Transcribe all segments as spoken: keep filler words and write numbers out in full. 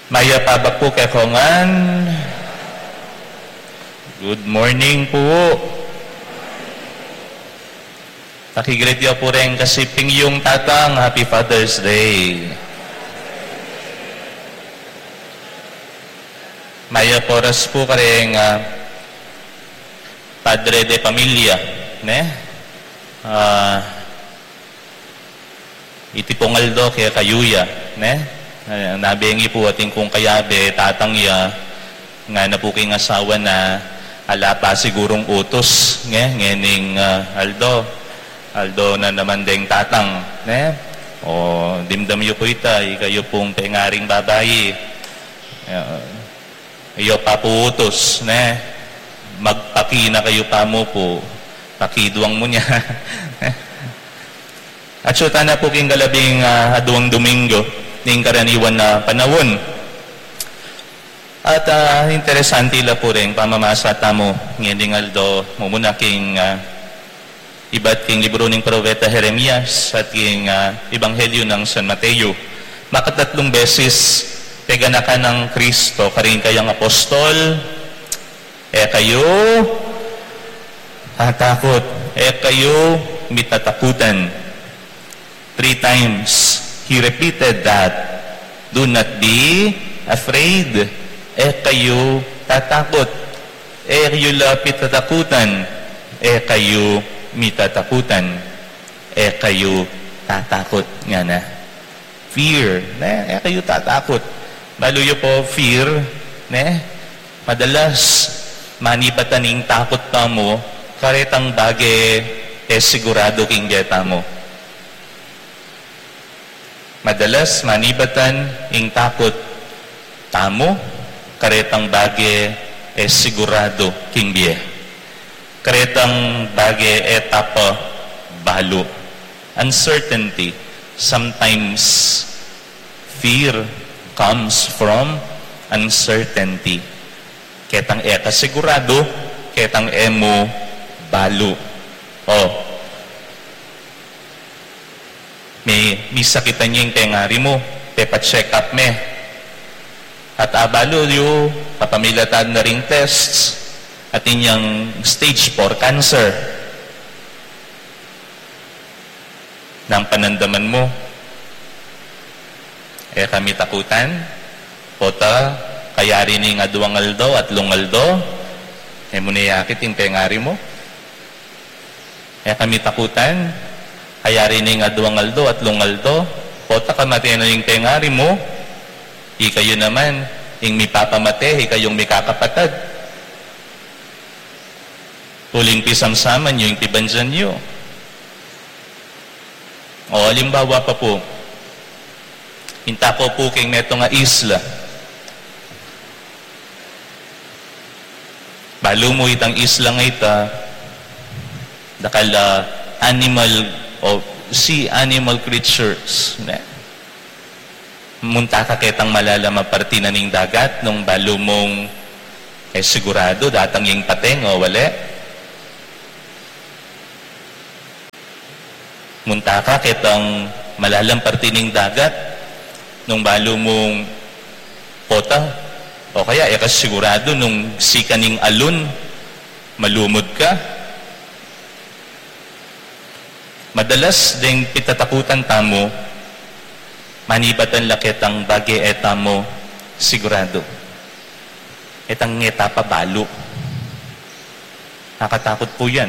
Mayap a abak pu kekongan. Good morning pu. Paki-greet yu pu reng kasiping yung tatang, Happy Father's Day. Mayap a oras pu kareng, ah, padre de pamilya, ne? Ah, iti pung aldo kekayu ya, ne? Eh, nabengi pu atin kung kayabe, tatang ya, ngana pu king asawa na ala pa sigurung utus, nge, ngening, ah, aldo. Aldo na naman deng tatang, ne? O, dimdam yu pu ita, ikayu pung pengaring babai. Eh, Iyo pa pu utus, ne? Magpaki na kayu pa mu pu. Pakiduang mu nya. Atsu tana pu king kalabing, ah, aduang Domingo ning karaniwan a panaun. At, ah, interesante la pu reng pamamasa tamu ngening aldo, mumuna king, ah, ibat king libru ning propeta Jeremias at king, ah, Ebanghelyo nang San Mateo. Makatatlung beses peganakan nang Kristo karing kayang apostol, "E kayu tatakut, e kayu mitatakutan." Three times, he repeated that, "Do not be afraid." E kayu tatakut. E yu la pitatakutan. E kayu mitatakutan. E kayu tatakut, ngana. Fear, ne? E kayu tatakut. Balu yu pu, fear, ne? Madalas, manibatan ing takut tamu karetang bage e siguradu king bie tamu. Madalas, manibatan ing takut tamu karetang bage e siguradu king bie. Karetang bage e ta pa balu. Uncertainty. Sometimes, fear comes from uncertainty. Ketang e ka siguradu, ketang e mu balu. O, me, misakitan ya ing pengari mu, pepa-check up me. At abalu yu, kapamilatan na ring tests, atin yang stage four cancer. Nang panandaman mu, e ka mitakutan, pota, kayari ning aduang aldo, atlung aldo, e mu ne akit ing pengari mu. E ka mitakutan, kayari ning aduang aldo, atlung aldo, pota kamate na ing pengari mu, ikayu naman, ing mipapamate, ikayung mikakapatad. Uling pisamsaman yu ing pibandian yu. O, alimbawa pa pu, inta ko pu king metung a isla. Balu mu itang isla nga ita, dakal a animal o sea animal creatures, ne? Munta ka ketang malalam a parti na ning dagat nung balu mung e siguradu datang ing pateng o wale. Munta ka ketang malalam parti ning dagat nung balu mung pota, o kaya e ka siguradu nung sikan ning alon, malumud ka. Madalas deng pitatakutan tamu, manibatan la ketang bage e tamu siguradu. Ketang e ta pa balu. Nakatakut pu yan.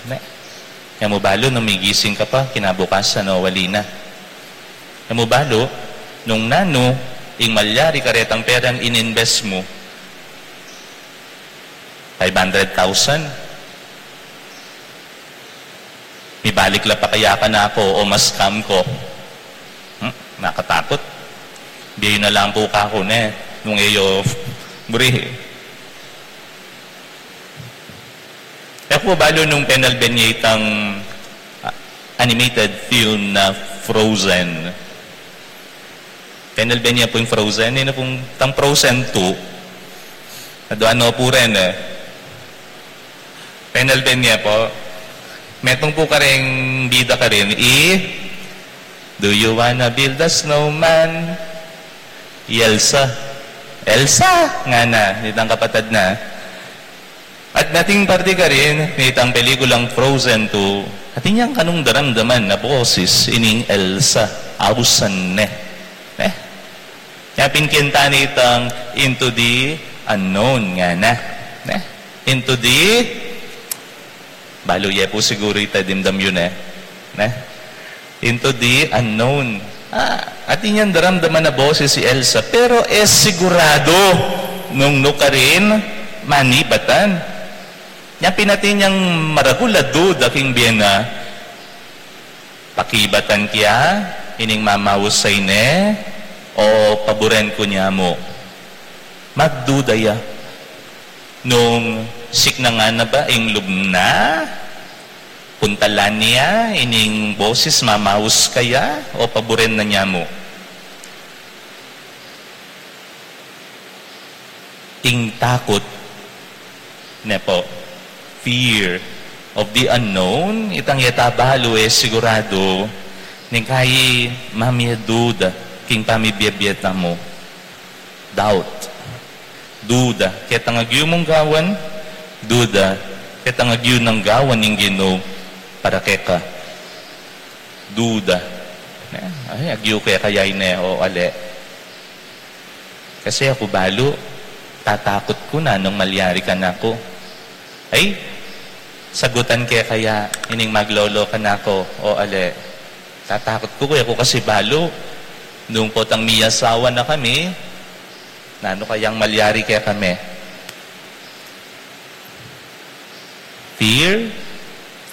Ne? E mu balu nung migising ka pa, kinabukasan o wali na. E mu balu nung nanu ing malyari karetang perang in-invest mu, five hundred thousand. Mibalik la pa kaya kanaku o ma-scam ku? Hmm? Nakatakut. Bie yu na lang pu kaku ne, nung e yu buri. E ku balu nung penalben ya itang, ah, animated film na Frozen. Penalben ya pu ing Frozen, ini pung tang Frozen two. Adua no pu rin e. Penalben ya pu. Metung pu karing bida karin, i, "Do you wanna build a snowman?" I Elsa. "Elsa!" ngana nitang kapatad na. At nating parte karin, nitang pelikulang Frozen two, atin yang kanung daramdaman a boses ining Elsa, ausan ne. Ne? Nya pin kanta nitang Into the Unknown ngana. Ne? Into the, balu ye pu siguru ita, dimdam yu ne. Ne? Into the Unknown. Ah, atin yang daramdaman a boses i Elsa, pero e sigurado nung nukarin manibatan. Nya pin atin yang maragul a duda king bie na, pakibatan ke ya ining mamausay ne o paburen ku ne mu? Magduda ya nung siknangan na ba ing lub na, puntalan ne ya ining boses, mamaus kaya, o paburen na ne mu? Ing takut, ne pu, fear of the unknown, itang e ta balu, e sigurado, ning kai mamie duda king pamibie-bie tamu. Doubt. Duda ketang agyu mung gawan, duda ketang agyu nang gawan ning Ginu para keka. Duda. Ne? Ay, agyu ke kaya ine o ali? Kasi aku balu, tatakut ku nanung malyari kanaku. Ay, sagutan ke kaya ining maglolo kanaku o ali? Tatakut ku, e ku kasi balu, nung potang miyasawa na kami, nanu kayang malyari kekami? Fear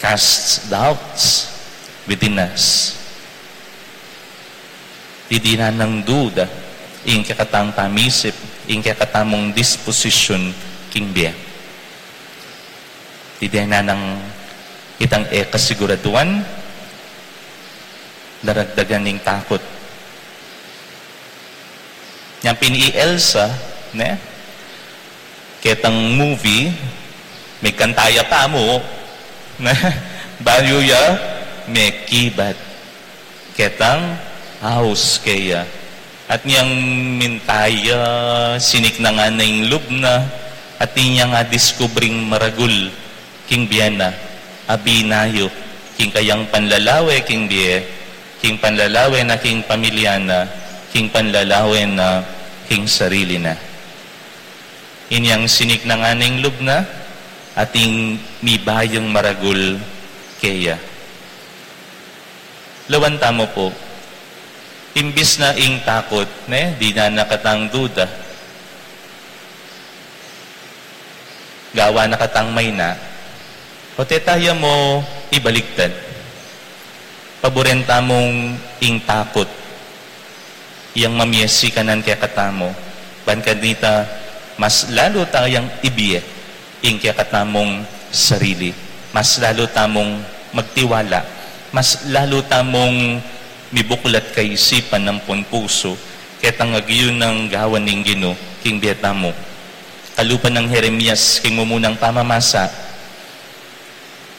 casts doubts within us. Didinan nang duda ing kekatang pamisip, ing kekatamung disposisyun king bie. Didinan nang itang e kasiguraduan, daragdagan ning takut. Nyang pin i Elsa, ne? Ketang movie, migkanta ya pa mu, ne? Bayu ya mekibat ketang aus keya. At nyang minta ya, siniknangan na ing lub na, at inyang a diskubring maragul king bie na, a binayu king kayang panlalawe king bie, king panlalawe na king pamilya na, king panlalawe na king sarili na. Inyang siniknangan ing lub na, ating mibayung maragul keya. Lawan tamu pu, imbis na ing takut, ne, dinan na katang duda, gawan na katang maina, o teta ya mu ibaligtad. Paburen tamung ing takut yang mamie sikanan kekatamu, ban kanita mas lalu tayang ibie ing kekatamung sarili, mas lalu tamung magtiwala, mas lalu tamung mibuklat kaisipan ampon pusu ketang agyu nang gawan ning Ginu king bie tamu. Kalupa nang Jeremias king mumunang pamamasa,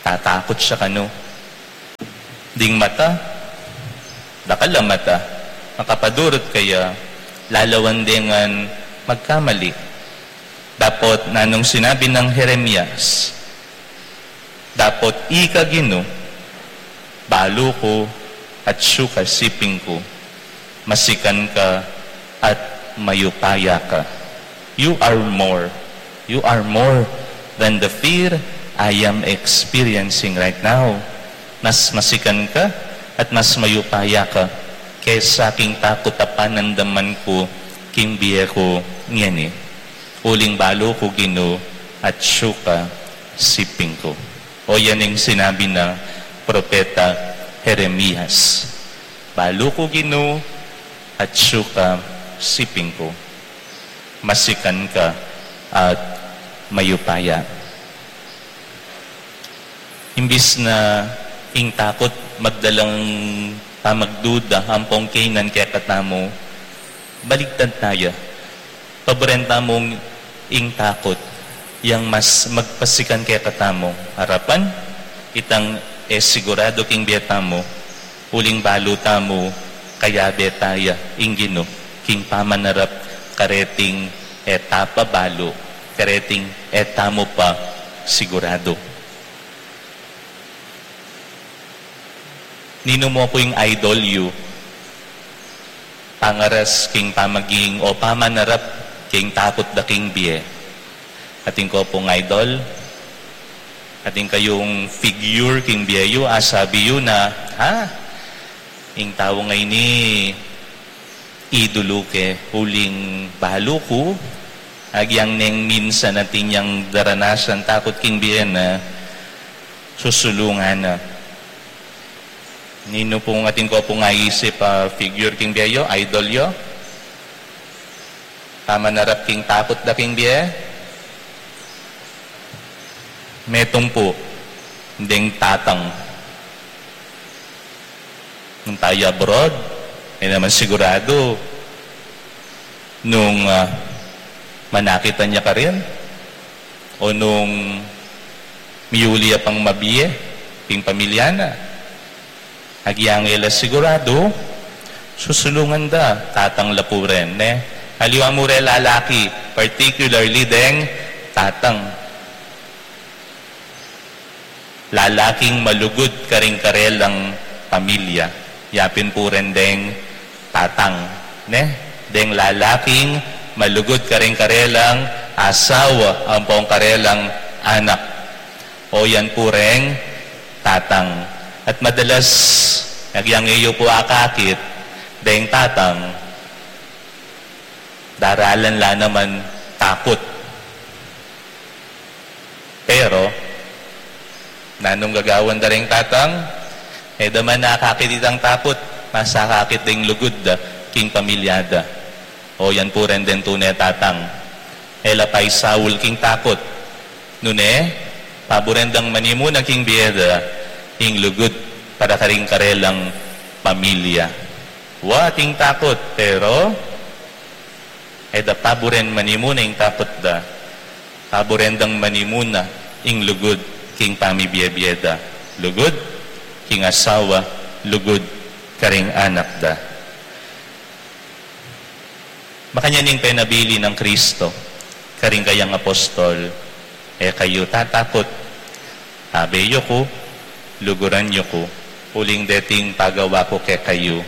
tatakut ya kanu. Ding mata, dakal a mata, makapadurut kaya, lalawan de ngan magkamali. Dapot nanung sinabi nang Jeremias? Dapot ika Ginu, balu ku, atsu ka siping ku, masikan ka at mayupaya ka. You are more. You are more than the fear I am experiencing right now. Mas masikan ka at mas mayupaya ka kesa king takut a panandaman ku king bie ku ngeni. Uling balu ku Ginu, atsu ka siping ku. O yan ing sinabi na propeta Jeremias. Balu ku Ginu, atsu ka siping ku. Masikan ka at mayupaya. Imbis na ing takut magdalang pamagduda ampong kainan kekatamu, baligtad taya. Paburen tamung ing takut yang mas magpasikan kekatamung arapan, itang e sigurado king bie tamu, uling balu tamu kayabe taya ing Ginu king pamanarap kareting E ta pa balu, kareting e tamu pa siguradu. Ninu mu pu ing idol yu, pangaras king pamaging o pamanarap king takut da king bie? Atin ko pung idol, atin kayung figure king bie yu, asabi yu na, ha? Ing tau ngeni idulu ke, uling balu ku, agyang neng minsan atin yang daranasan takut king bie na, susulungan na. Ninu pung atin ko pung aisip a figure king bie yu, idol yu? Pamanarap king takut da king bie? Metung pu, deng tatang. Nung tayu abroad, e naman siguradu nung, ah, manakitan ya karin o nung miyuli ya pang mabie king pamilya na. Agyang e la siguradu, susulungan da, tatang la pu ren, ne? Aliwa mu re lalaki, particularly deng tatang. Lalaking malugud karing karelang pamilya, yapin pu ren deng tatang, ne? Deng lalaking malugud karing karelang asawa ampong karelang anak. O yan pu reng tatang. At madalas, agyang e yu pu akakit deng tatang, daralan la naman takut. Pero, nanung gagawan da reng tatang? E da man akakit itang takut, mas akakit deng lugud da king pamilya da. O yan pu ren deng tune tatang. E la paisaul king takut. Nune, paburen dang manimuna king bie da ing lugud para karing karelang pamilya. Wa ating takut, pero e da paburen manimuna ing takut da. Paburen dang manimuna ing lugud king pamibie-bie da. Lugud king asawa, lugud karing anak da. Makanyan ing penabilin nang Kristo karing kayang apostol, e kayu tatakut. Abe yu ku, luguran yu ku, uling deting pagawa ku kekayu,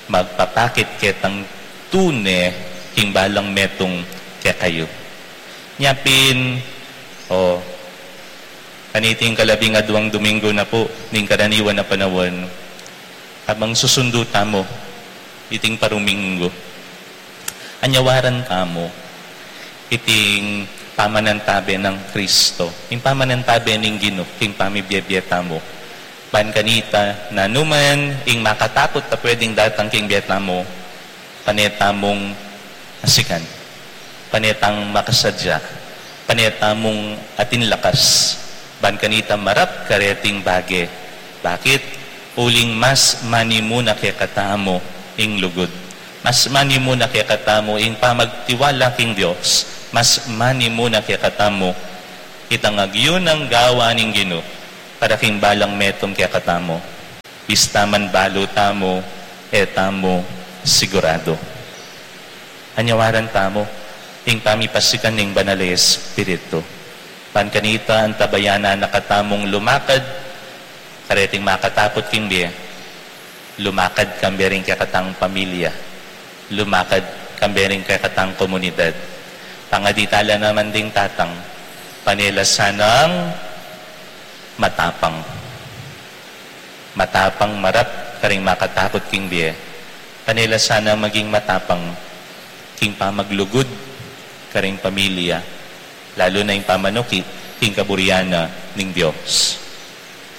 magpapakit ketang tune king balang metung kekayu. Nya pin, o, kaniting kalabing adwang Domingo na pu ning karaniwan a panaun, abang susundu tamu iting paruminggu. Anyawaran tamu iting pamanantabe nang Kristo, ing pamanantabe ning Ginu king pamibie-bie tamu. Ban kanita, nanuman ing makatakut a pwedeng datang king bie tamu, pane tamung asikan, pane tang makasadya, pane tamung atin lakas, ban kanita marap kareting bage. Bakit? Uling mas manimuna kekatamu ing lugud. Mas manimuna kekatamu ing pamagtiwala king Dios. Mas manimuna kekatamu itang agyang gawa ning Ginu para king balang metung kekatamu. Bista man balu tamu, e tamu siguradu. Anyawaran tamu ing pamipasikan ning Banal a Espiritu. Ban kanita, antabayanan na katamung lumakad kareting makatakut king bie, lumakad kambe ring kekatang pamilya, lumakad kambe ring kekatang komunidad. Pangadi tala naman ding tatang, pane la sanang matapang. Matapang marap karing makatakut king bie. Pane la sana maging matapang king pamaglugud karing pamilya, lalu na ing pamanuki king kaburian na ning Dios.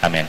Amen.